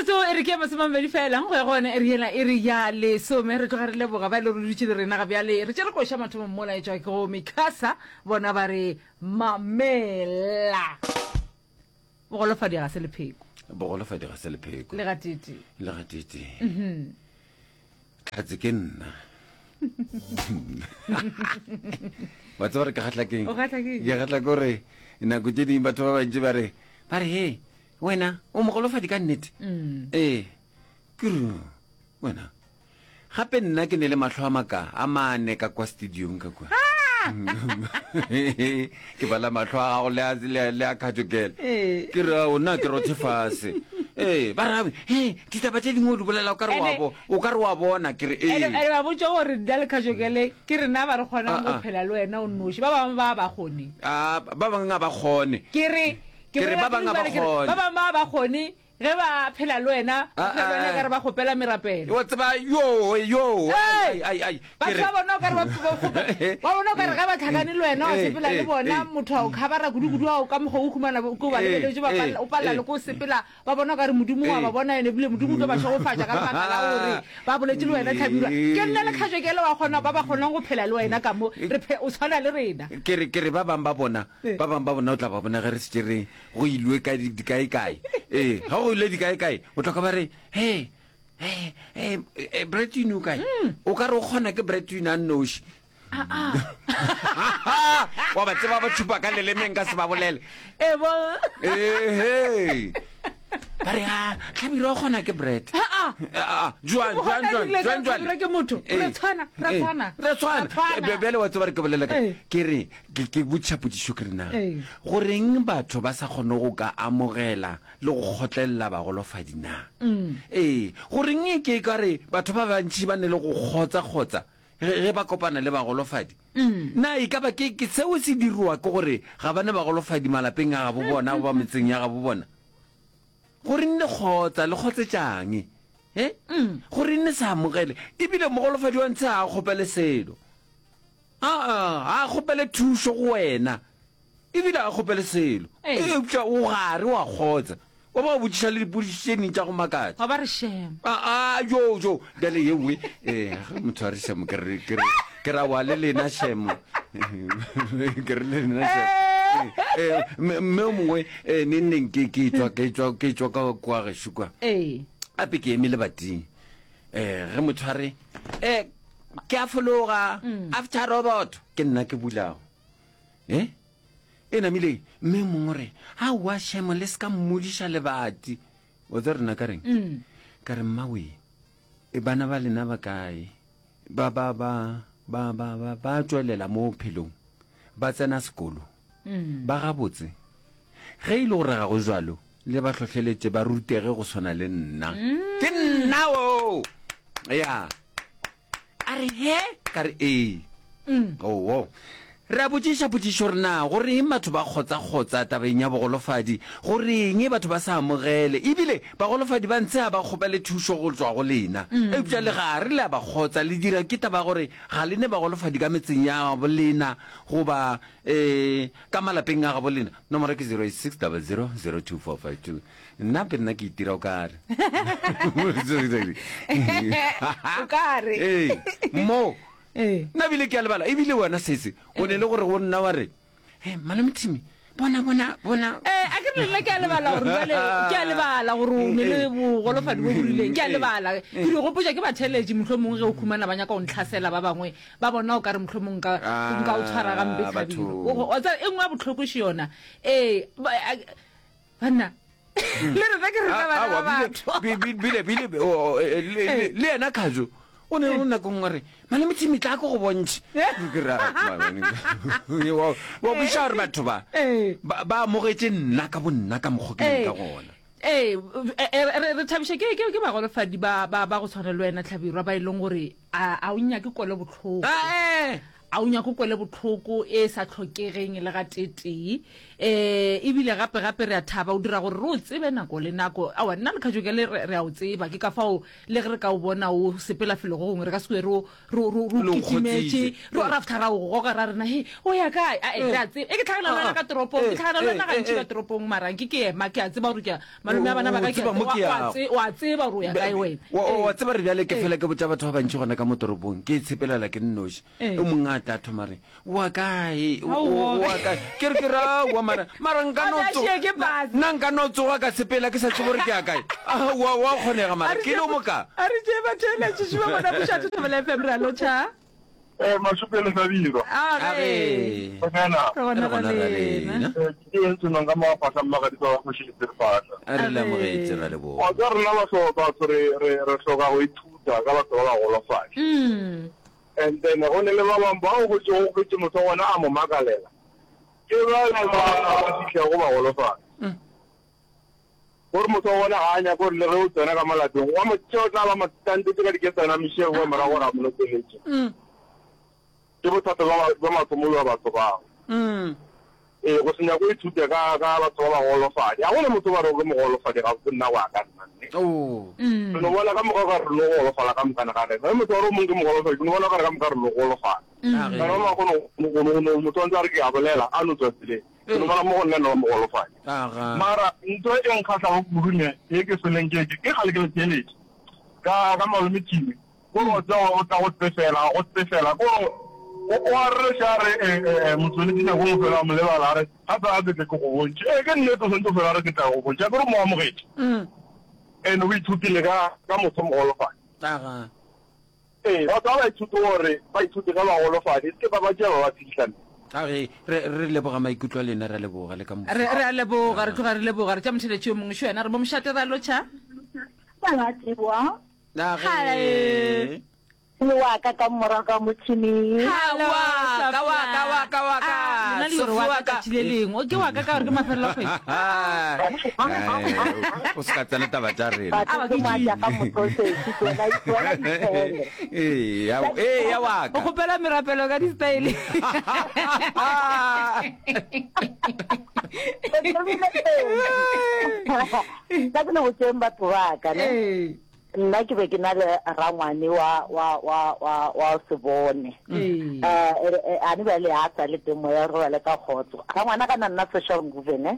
Metsotso e re ke ya masomamabedi fela go ya go yona e re yela e re ya lesome. Re tloga re leboga ba e le gore dutše le rena ga bjale. Re tšere koša mathomong mola e tšwa ke go Mikasa bona ba re mamela. Bogolofadi ga se lepheko. Bogolofadi ga se lepheko. Le gatete. Le gatete. Mhm. Tlhatse ke nna. Wa tseba re ke gatla keng? O gatla keng? Ke gatla ke gore nako tše dingwe batho ba bantši ba re ba re he wena o mogolofadi ka nnete. Mm. Ee. Ke re wena gape nna ke ne le mahlo a maka a mane ka kwa studiong ka kwa. Ke bala mahlo a gago le a le a khatšokele. Ee. Ke re o nna ke rothe fase. Ee, ba re he ditaba tše dingwe o di bolela o ka re wa bo o ka re wa bona ke re ee. Ene ba botša gore nna le khatšokele ke rena ba re kgonang Ah, go ah. phela le wena o nnoši. Ba bangwe ba ba kgone. Ah, ba bangwe ga ba kgone. Ke re ke Ke re bolela ba bangwe ga ba ke re kgone. ba bangwe ba ba kgone Ge ba phela le wena, ba Ah, phela le wena ah, ekare ba kgopela merapelo. Wa tseba, yo, yo, Hey! ai, ai, ai, ke Batho re- ba bona o kare ba ba kgope- ba bona o kare ge ba tlhakane le wena wa Eh, sepela le eh, bona eh. motho a o khabara kudu-kudu a o ka mokgwa o humana ko ba Eh, lebeletše ba eh, palela- o palela eh. le ko sepela ba bona o kare modimo wa Eh. ba bona ene ebile modimo o tlo ba šegofatša ka lebaka la gore ba boletše le wena tlhabirwa ke nna le kgajokele wa kgona ba ba kgonang go phela le wena ka mo re phe- o tshwana le rena ke re ke re ba bang ba bona Eh. ba bang ba bona o tla ba bona ge re setse re go ilwe ka dikaekae ee ga go ilwe dikaekae o tla ka ba re he he he bretwin o kae mm. o ka re o kgona ke bretwin a nnoši ah, ah. wa ba tseba ba tšhupa ka lelemeng ka se ba bolele ehe ba re a tlhabiro o kgona ke bread jwang jwang jwang jwang jwang ke motho re tshwana re tshwana re tshwana bjale wa tseba re ke bolela ka ke re Ke, ke botšiša potšišo ke re na, goreng batho ba sa kgone go ka amogela le go kgotlelela bagolofadi na? Ee, goreng e ke ka re batho ba bantši ba ne le go kgotsa-kgotsa ge, ge ba kopana le bagolofadi? Na e ka ba ke, ke seo se dirwa ke gore ga ba ne bagolofadi malapeng a gabo bona goba metseng ya gabo bona? Goreng le kgotsa, le kgotsetšang? He? Goreng le sa amogele? Ebile mogolofadi wa ntshe ga a kgopele selo. Aa, ga a kgopele thušo go wena, ebile ga a kgopele selo. Ee. Eupša o gare wa kgotsa. Wa ba wa botšiša le dipotšišo tše ding tša go makatša. Wa ba re shame. Aa, jo, jo. Bjale ye nngwe, eh, ge motho a re shame, ke re, ke re, ke ra wa le lena shame. Ke re le lena shame. Eh, eh, mme mme o mongwe, eh, neng neng ke, ke tšwa, ke tšwa, ke tšwa ka kwa gešo kwa. Ee. Gape ke eme lebating. Eh, ge motho a re, eh, ke a fologa, mm. after robot, ke nna ke bulago. Eh? E namile, mme mongwe re, aowa shemo le se ka mmodiša lebati. O tse rena ka reng? Mm. Ka re mmawe, e bana ba lena ba kae? Ba ba ba ba ba ba ba tšwelela mo phelong. Ba tsena sekolo. Mm. Ba gabotse. Ge e le gore ga go jwalo, le ba hlohleletše ba rutege go swana le nna. Ke nna wo! Ya. A re, He? Ka re, Ee. Oo. Re a botšiša potšišo gore na go reng batho ba kgotsa-kgotsa tabeng ya bogolofadi? Go reng batho ba sa amogele? Ebile bagolofadi ba ntshe ga ba kgopele thušo go tšwa go lena. Eupša le gare le a ba kgotsa, le dira ke taba ya gore ga le ne bagolofadi ka metseng ya gabo lena goba um ka malapeng a gabo lena. Nomoro ke 086 00 02452. Nna pe nna ke itira o kare. O kare. Ee, mo. Ee. Nna bile ke a lebala, ebile wena sese, o ne le gore go nna wa re, He, malome Timmy, bona, bona, bona. Ee, a ke re le nna ke a lebala gore bjale, ke a lebala gore o ne le bogolofadi bo bo rileng. Ke a lebala. Ke di gopotša ke batheeletši mohlomongwe ge o khumana ba nyaka go ntlhasela ba bangwe, ba bona o ka re mohlomong nka, nka o tshwara gampe Ah, Hlabirwa. batho. O go, wa tseba, e nngwe ya bohloko še yona. Ee, ba, a, banna, le rena ke rena bana ba batho. Bile, bile, o, o, e, le, le, le yena Khajo, o ne o nako nngwe re, malome Timmy, tla ko go bontšhe. Ke re, ah, wa, wa kwešiša gore batho ba, Ee. ba, ba amogetše nna ka bonna ka mokgwa ke leng ka gona. Ee, re, re thabiša ke, ke, ke bagolofadi ba, ba, ba go tshwana le wena, Hlabirwa, ba e leng gore a, a o nyake kwelobohloko. Ee. A o nyake o kwele bohloko e sa hlokegeng le gateetee. Um ebile gape gape re a thaba o dira gore re o tsebe nako le nako. Aowa, nna le Kajokele re, re a o tseba. Ke ka fao le ge re ka o bona o sepela felo go gongwe re ka se kwe re o, re o, re o, re o kitimetše, re, ra fihla ra o goga ra rena, he, o ya kae? Ae, re a tseba. E ke hlagana le wena ka toropong, ke hlagana le wena gantši ka toropong, mara nke ke ema, ke a tseba gore ke a, malome a bana ba ka ke a, wa, wa tse, wa tseba gore o ya kae wena. Wa, wa tseba re bjale ke fela ke botša batho ba bantši gona ka mo toropong, ke itshepelela ke nnoši. O mongwe a tla thoma re, wa kae? Wa kae? Ke re ke re aowa mara, mara nka no tsoga, nna nka no tsoga ka sepela ke sa tsebe gore ke ya kae. Wa, wa kgonega mara ke le mo ka. A re tšee batheeletši, šupa bona Mošate Thobela FM, re a lotšha. Eh, Mashupele Sabiro. Age. Gona. Re gona ra lena. Ke eng senong ka mafahla mmagadisa wa kgoši Leserefahla. A re le amogetše ra leboga. Wa tseba rena batho batho re re re hloka go ithuta ka batho ba bagolofadi. And then go ne le ba bangwe bao go tšego hwetše motho wa gona a mo makalela. Ke bale ba ba fihlago bagolofadi. Gore motho wa gona ga a nyake gore le ge o tsena ka mo lapeng wa mo tšea o tla ba mo tantetše ka diketsana mešego kwa morago gore a mo lokeletše. Ke bothata bja bja mathomo bja batho bao. Ee, go se nyake go ithuta ka ka batho ba bagolofadi. Ga go na motho ba rego ke mogolofadi gabotse nna go ya ka nna mme. Re no bona ka moka o ka re re no golofala ka mokana ga rena. Ge motho a re o mongwe ke mogolofadi, ke no bona o ka re ka moka re no golofala. Kana ba bangwe go no go no motho a ntse a re ke a bolela a no tswa tseleng. Ke no bona mo go nna no ba mogolofadi. Mara ntho e nkgahlago kudu ne ye ke feleng ke ke kgale ke le theeletše ka ka malome Timi. Ko re o tseba o tla go tsefela, go tsefela. Ko re o o a rereša a re eh eh motsweletši nako nngwe fela a mo lebala a re gape a ke tle ke go bontšhe. Ee ke nnete o swanetše go fela a re ke tla go bontšha. Akere o mo amogetše. And o ithutile ka ka motho mogolofadi. Ee, batho ba ba ithute gore ba ithute ge ba golofadi, e se ke ba ba tšea ba ba fihla. A re, re, re leboga maikutlo a lena, re a leboga le ka moso. Re, re a leboga, re tloga re leboga. Re tša motheletši yo mongwe, šo yena, re bo mošate, re a lotšha. Baratiwa. A re. Le wa ka ka morago ga motšhini. Hello, Wa ka, wa ka, wa ka, wa ka. Ah, lena le gore wa ka tšatši le lengwe. O ke wa ka ka gore ke mafelelo a kgwedi. Eh, o se ka tsena taba tša rena. Batho ke moatša ka moprocess, tloela tloela ditshele. Ee, ya, ee, ya wa O ka. kgopela merapelo ka di-style. O thomile pele. Tla ke le botšeng batho ba ka, ne? Ee. Nna ke be ke na le rangwane wa, wa, wa, wa, wa se bone. Ee. Eh, a ne bjale a sa le teng moya o robale ka kgotso. Rangwana ka na nna social movement, ne?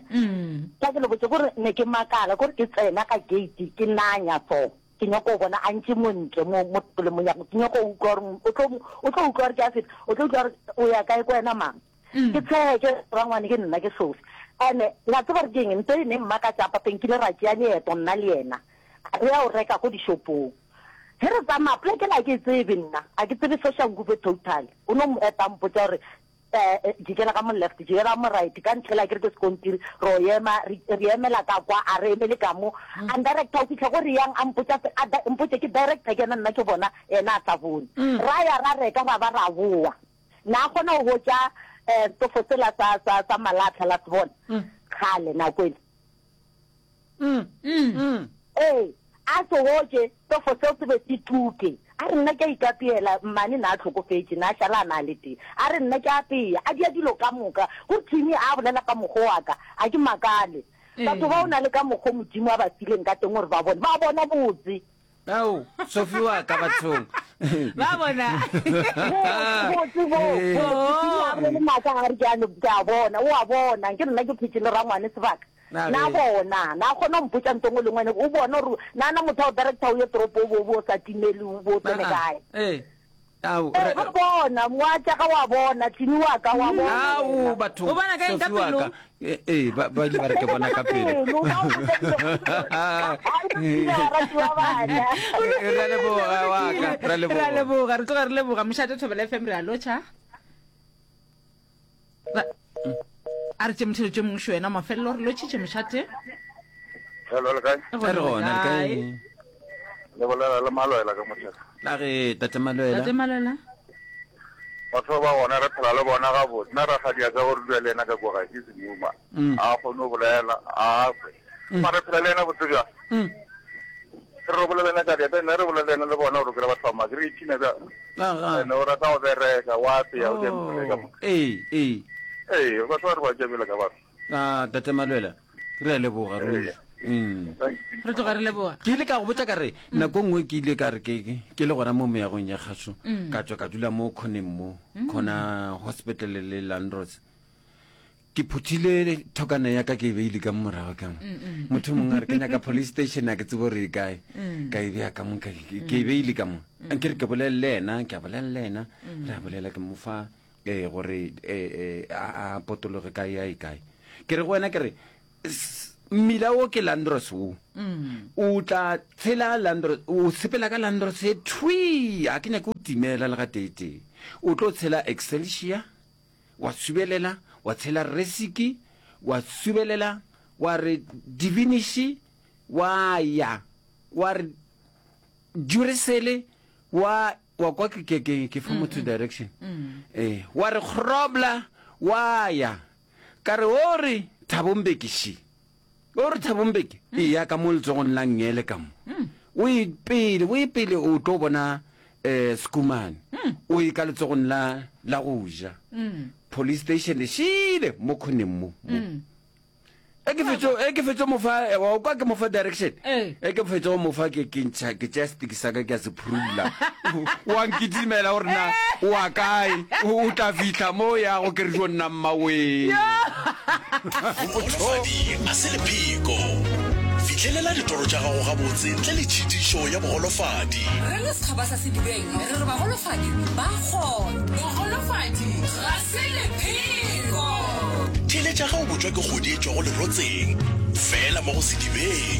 Tla ke le botše gore ne ke makala, kore ke tsena ka gate ke nanya so. Ke nyako go bona a ntše mo ntle mo, mo le monyako. Ke nyako go utlwa gore o tlo, o tlo utlwa gore ke a feta, o tlo utlwa gore o ya kae ko wena mang. Ke tshehe ke re rangwane ke nna ke Sophie. Ene la tseba gore ke eng ntho e ne mmakatša papa nkile ra tšea leeto nna le yena re ya go reka ko dishopong. Ge re tsamaya poleke ela a ke e tsebe nna a ke tsebe Soshanguve total. O no mo eta a mpotša gore eh jikela ka mo left jikela ka mo right ka ntlhela akere ke sekontiri ro ema re emela ka kwa a re emele ka mo a ndirector go fihla ko re yang a mpotša a mpotše ke director ke yena nna ke bona yena a sa bone. Ra ya ra reka ra ba ra bowa. Na a kgona go hwetša eh, setofo sela sa, sa, sa malahla, la se bona? Kgale, nako ele. Ee, a se hwetše, setofo seo se be se tuke. A re, Nna ke a ikapeela, mmane na a hlokofetše, na a šala a na a le tee. A re, Nna ke a apea, a dia dilo ka moka. Go Timmy a bolela ka mokgwa wa ka, a ke makale. Batho ba o na le ka mokgwa Modimo a ba fileng ka teng gore ba bone, ba bona botse. Ao, Sophie wa ka bathong. Ba bona. Botse bo. Botse a bolele maaka a re ke a ke a bona. O a bona. Ke nna ke phetše le rangwane sebaka. Na bona. Na kgona go mpotša nto ngwe le ngwe. O bona gore na na motho a o director o ye toropo o bo o bo sa timele o bo o tsene kae. Ee. Ao, Ee, re- ba bona, moatša ga wa bona, Timi wa ka wa bona Ao, wena. bathong. O bona ka eng? Ka Sophie wa pelo? ka. Eh, eh, ba ba ile ba re ke bona ka pelo. Pelo, ba o botša baratiwa bana. Eh, re a leboga, wa ka, re a leboga. Re a leboga, re tloga re leboga. Mošate Thobela FM re a lotšha. Ra- A re tše motheletšo mongwe šo wena mafelelo re lotšhitše mošate. Hello, le kae? Re gona, le kae? Le bolela le Malwela ka motheka. La ge tate Malwela. Tate Malwela. Batho ba gona re phela le bona gabotse. Nna rakgadi ya ka gore dula le yena ka kwa gae ke semuma. Mm. A kgone go bolela, a kwe. Mm. Mara re phela le yena botse bjang? Mm. Re re bolela le yena ka diatla, nna re bolela le yena le bona gore o kry-a batho ba maaka. Re ipshina bjang. Aga. Ene o rata go bereka, wa apea, o dira mebereko ka Oh, moka. ee, ee. Ee, batho ba re ba tšea bjalo ka batho. Ah, Tate Malwela, re a leboga ruri. Mm. Re tloga re leboga. Ke ile ka go botša ka re nako nngwe ke ile ka re ke ke- ke le gona mo meagong ya kgašo ka tšwa ka dula mo khoneng mo khona hospital le Landros. Ke phuthile thokana ya ka ke e beile ka mo morago ka mo. Motho mongwe a re ke nyaka police station a ke tsebe gore e kae. Ka e beya ka mo ka ke e beile ka mo. Ke re ke bolele le yena, ke a bolela le yena. Re a bolela ke mo fa eh gore eh eh a a potologe kae a e kae. Ke re go wena ke re mmila wo ke Landros wo. O tla tshela Landros o sepela ka Landros e thwi a ke nyake o timela le ga tee tee. O tlo tshela Excelsior wa subelela, wa tshela resiki, wa subelela, wa re diviniši, wa ya, wa re juresele, wa, wa kwa ke, ke, ke, ke fa motho direction. Eh, wa re grobla, wa ya. Ka re o re Thabo Mbeki še. O re Thabo Mbeki, eya ka mo letsogong la nngele ka mo. O ye pele, o ye pele o tlo bona eh Schoeman. O ye ka letsogong la la go ja. Police station e šile mo khoneng mo. mo. E ke fetšo e ke fetšo mo fa eh, wa kwa ke mo fa direction. Ee. E ke fetšo go mo fa ke ke ntšha ke tšea stick sa ka ke a se phurula. Wa nkitimela gore na o wa kae o tla fihla mo o yago ke re jo nna mmawee. Bogolofadi ga se lepheko. Fihlelela ditoro tša gago gabotse ntle le tšhitišo ya bogolofadi. Re le setšhaba sa Sedibeng re re bagolofadi ba kgona. Bogolofadi ga se lepheko. Theeletša ge o botšwa ke kgodi e tšwago lerotseng, fela mo go Sedibeng.